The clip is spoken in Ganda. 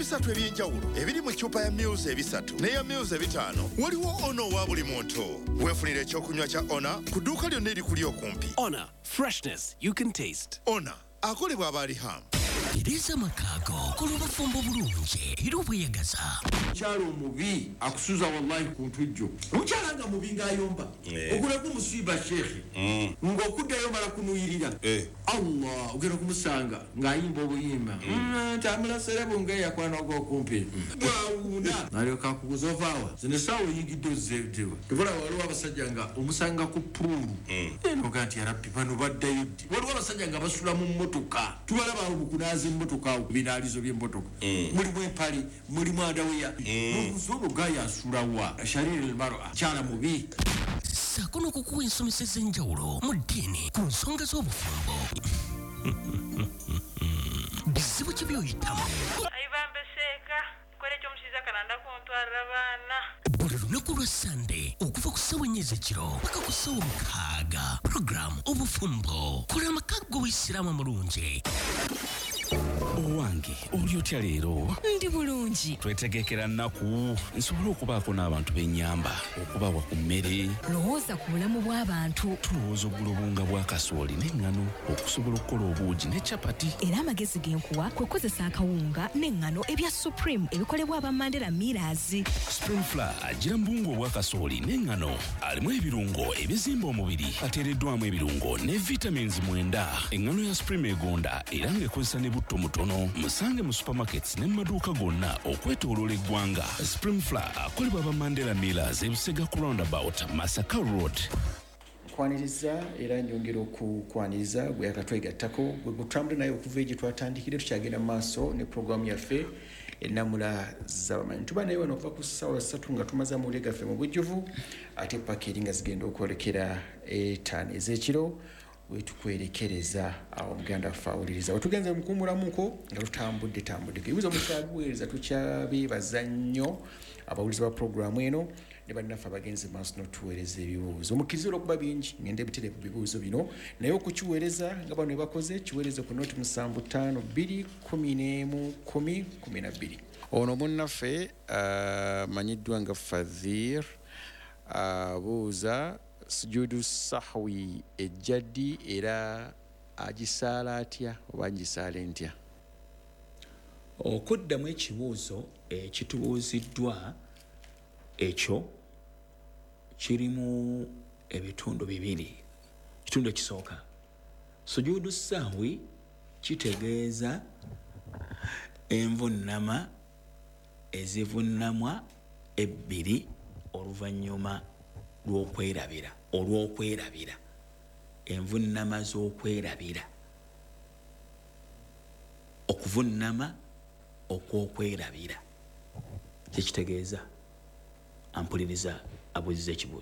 Ebisatu eby'enjawulo ebiri mu ccupa ya mils 3 n'eya mils 5, waliwo Ona owa buli muntu. Weefunira ekyokunywa kya Ona ku dduuka lyonna erikuli okumpi. Honor, freshness you can taste. Ona akolebwa abaalihamu. Tereeza amaka go, kola obufumbo bulungi era obweyagaza. Omukyala omubi akusuza wallahi ku ntujjo. Omukyala nga mubi ng'ayomba, ogulako musiiba sheekhe, ng'okuddayo mala kunuyirira. Allah, ogenda kumusanga ng'ayimba obuyimba tambula serebu ng'eyakwana ogwokumpi bwawuuna, nalyoka akubuza, "Ovaawa? Zino essaawa oyingidde ozzeewa?" Tebula. Waliwo abasajja nga omusanga ku pool, noga nti, "Yarabbi, bano baddayo ddi?" Waliwo abasajja nga basula mu mmotoka, tubalaba awo mu kunaaza emmotoka, awo ku binaalizo by'emmotoka, mulimu empale, mulimu underwear. Nobuuza, "Ono gaaya asulawa?" Shariri lmara, kyala mubi. Ssaako n'okukuwa ensomesa ez'enjawulo mu ddiini ku nsonga z'obufumbo. Bizibu ki by'oyitamu? Aibambe seeka kola ekyomushiija kananda kuntwarira abaana. Buli lunaku lwa Sande okuva ku ssaawa 4 ez'ekiro paka ku ssaawa 6, puroguramu Obufumbo, kola amaka g'Obuyisiraamu amulungi. Owange, oli otya leero? Ndi bulungi. Twetegekera nnaku nsobole okubaako n'abantu b'ennyamba okubawa ku mmere. Lowooza ku bulamu bw'abantu. Tulowooza ogula obuwunga bwa kasooli n'eŋŋano okusobola okukola obuugi ne capati. Era amagezi ge nkuwa kwe kukozesa akawunga n'eŋŋano ebya Supreme ebikolebwa aba Mandela Millers. Supreme Flour agira mu buwunga obwa kasooli n'eŋŋano, alimu ebirungo ebizimba omubiri, ateereddwamu ebirungo ne vitamins 9. Eŋŋano ya Supreme egonda era ng'ekozesa ne butto mutono. Musange mu supermarkets ne mu maduuka gonna okwetooloola eggwanga. Supreme Flour akolebwa aba Mandela Millers, Ebusega ku roundabout, Masaka Road. Nkwaniriza era nyongera okukwaniriza gwe akatwegattako, gwe gutambule naye okuva egye twatandikire. Tukyagenda mu maaso ne puroguramu yaffe Ennamula Z'abamanyi. Tuba naye wano okuva ku ssaawa 3 nga tumaze amawulire gaffe mu bujjuvu, ate paka eri nga zigenda okwolekera 5 ez'ekiro wetukwerekereza awo. Muganda waffe awuliriza, wetugenze mukuwumulamuko nga tutambudde tambuddeko, ebibuuzo mukyabiweereza. Tukyabeebaza nnyo abawuliza ba puroguramu eno ne bannaffe abagenzi maaso n'otuweereza ebibuuzo. Mukkirize olwokuba bingi ngende butereevu bibuuzo bino, naye okukiweereza nga bano bakoze, kiweereze ku noti 752 11 10 12. Ono munnaffe amanyiddwa nga Fadhir abuuza, sujudu sahwi ejja ddi era agisaala atya oba ngisaale ntya? Okuddamu ekibuuzo ekitubuuziddwa ekyo kirimu ebitundu bibiri. Ekitundu ekisooka, sujudu sahwi kitegeeza envunnama ezivunnamwa ebbiri oluvannyuma lw'okwerabira, olw'okwerabira, envunnama z'okwerabira, okuvunnama okw'okwerabira kyekitegeeza. Ampuliriza abuuziza ekibuuzo.